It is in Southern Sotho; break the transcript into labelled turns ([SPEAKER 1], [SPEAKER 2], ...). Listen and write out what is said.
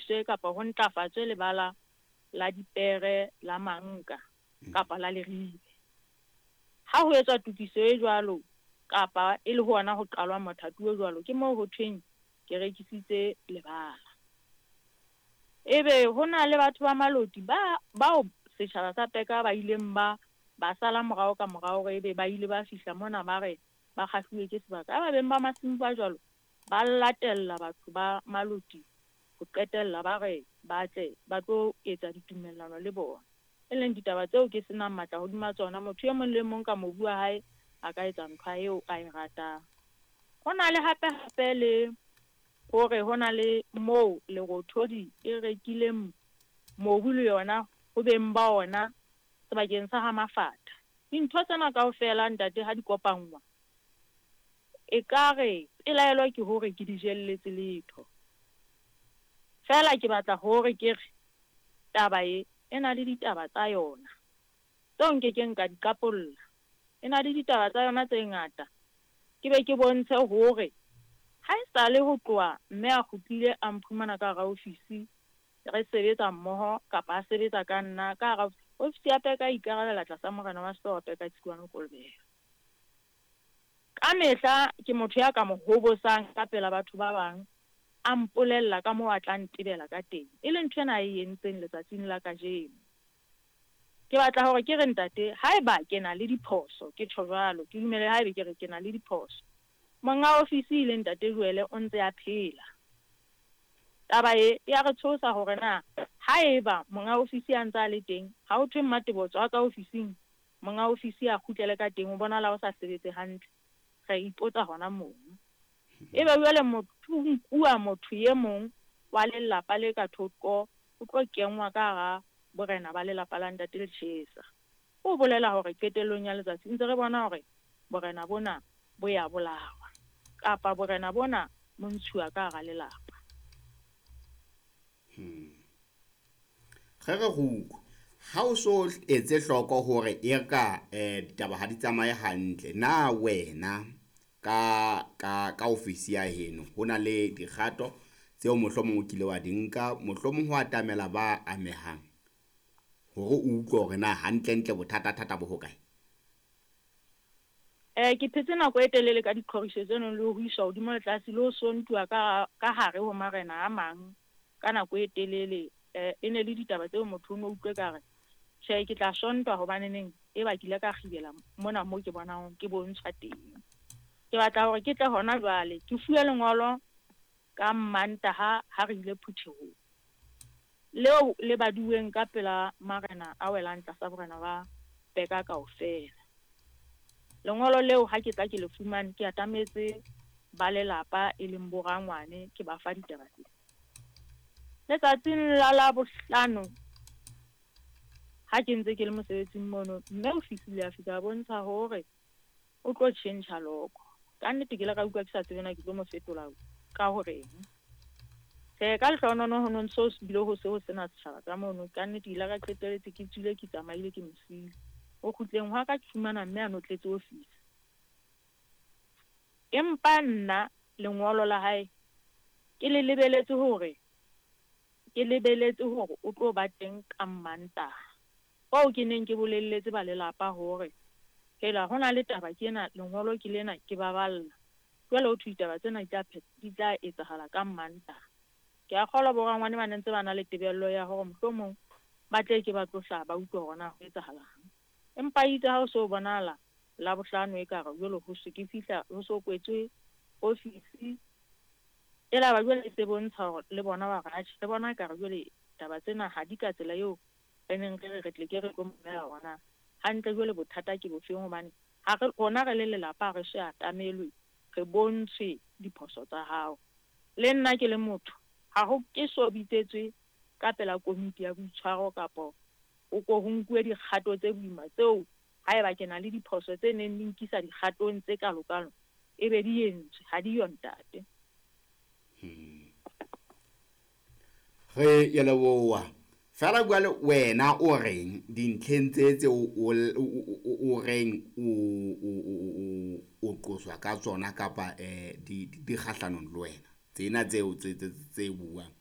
[SPEAKER 1] lokiswe kapa ho ntlafatswe lebala la dipere la Manka kapa la Leribe. Ha ho etswa tokiso e jwalo kapa e le hona ho qalwa mothati o jwalo, ke moo ho thweng ke rekisitse lebala. Ebe ho na le batho ba Maloti ba bao setjhaba sa Peka ba ileng ba ba sala morao ka morao hore ebe ba ile ba fihla mona ba re ba kgahluwe ke sebaka. Ha ba beng ba masimo ba jwalo ba latella batho ba Maloti ho qetella ba re ba tle ba tlo etsa ditumellano le bona. E leng ditaba tseo ke senang matla hodima tsona. Motho e mong le mong ka mobu wa hae a ka etsa ntho eo a e ratang. Ho na le hape hape le hore ho na le moo Lerothodi e rekileng mobu le yona ho beng ba ona sebakeng sa ha Mafata. Dintho tsena kaofela ntate ha di kopanngwa, ekare pelaelo ke hore ke di jelletse letho. Feela ke batla hore ke re taba e e na le ditaba tsa yona tseo nkekeng ka di qapolla. E na le ditaba tsa yona tse ngata. Ke be ke bontshe hore ha esale ho tloha mme a kgutlile a mphumana ka hara ofisi re sebetsa mmoho kapa a sebetsa ka nna ka hara ofisi ya Peka, ikarabela tlasa morena wa sehlooho Peka Tsikwane Kolobela. Ka mehla ke motho ya ka mo hobosang ka pela batho ba bang, a mpolella ka moo a tla ntebela ka teng, e leng ntho ena a e entseng letsatsing la kajeno. Ke batla hore ke re ntate, haeba ke na le diphoso, ke tjho jwalo, ke dumele haebe ke re ke na le diphoso. Monga ofisi le ntate Joele o ntse a phela. Taba e ya re tshosa hore na haeba monga ofisi a ntse a le teng, ha ho thwe Mmatebo tswa ka ofising, monga ofisi a kgutlele ka teng, o bonahala o sa sebetse hantle. Re ipotsa hona mono. Ebe jwale motho o nkuwa motho e mong wa lelapa le ka thoko, o tlo kenngwa ka hara borena ba lelapa la ntate Lechesa. O bolela hore qetellong ya letsatsi ntse re bona hore borena bona bo ya bolawa kapa borena bona bo ntshuwa ka hara lelapa.
[SPEAKER 2] Ge re go utlwa ha o so etse hloko hore e ka ditaba ha di tsamaye hantle, na wena ka ka ka ofisi ya heno ho na le dikgato tseo mohlomong o kile wa di nka, mohlomong ho atamela ba amehang hore o utlwe hore na hantlentle bothata-thata bo hokae?
[SPEAKER 1] Ke phetse nako e telele ka diqhoriso tseno le ho iswa hodimo le tlase le ho sontuwa ka ka hare ho marena a mang ka nako e telele. E ne le ditaba tseo motho o no utlwe ka re tjhe, ke tla sontwa hobaneneng e ba ke ile ka kgibela mona mo ke bonang ke bontshwa teng. Ke batla hore ke tle hona jwale ke fuwe lengolo ka Mantaha ha re ile phuthehong leo le baduweng ka pela marena a welang tlasa borena ba Peka kaofela. Lengolo leo ha ke tla ke le fumane, ke atametse ba lelapa e leng bo rangwane, ke ba fa ditaba tsena. Letsatsing la Labohlano ha ke ntse ke le mosebetsing mono, mme o fihlile a fihla a bontsha hore o tlo tjhentjha loko. Ka nnete ke ile ka utlwa ke sa tsebe na ke tlo mo fetola ka horeng. Tjhe, ka lehlohonolo ho no ntso bile ho se ho sena setjhaba ka mono. Ka nnete ke ile ka qetelletse ke tswile, ke tsamaile, ke mo siile. Ho kgutleng hwa ka ke fumana mme a notletse ofisi. Empa nna lengolo la hae ke le lebeletse hore ke lebeletse hore o tlo ba teng ka Mantaha. Oo ke neng ke bolelletse ba lelapa hore hela ho na le taba ke ena, lengolo ke lena, ke ba balla. Jwale ho thwe ditaba tsena di tla etsahala ka Mantaha. Ke a kgolwa bo rangwane ba ne ntse ba na le tebello ya hore mohlomong ba tle ke ba tlo hlaha ba utlwe hore na ho etsahalang. Empa itse ha o so bonahala Labohlano ekare jwale ho se ke fihla ho so kwetswe ofisi, e la ba jwale e se bontsha hore le bona ba re atjhe, re bona ekare jwale taba tsena ha di ka tsela eo re neng re re re tle ke re tlo mamela hore na hantle jwale bothata ke bofeng, hobane ha re rona re le lelapa ha re so atamelwe re bontshwe diphoso tsa hao. Le nna ke le motho ha ho ke so bitsetswe ka pela komiti ya boitshwaro kapo o ko ho nkuwe dikgato tse boima tseo haeba ke na le diphoso tse neng di nkisa dikgatong tse kalokalo e be di entswe, ha di yo ntate.
[SPEAKER 2] Re ya leboha. Fela jwale wena o reng dintlheng tse tse o reng o qoswa ka tsona kapa di kgahlanong le wena, tsena tseo tse tse buang?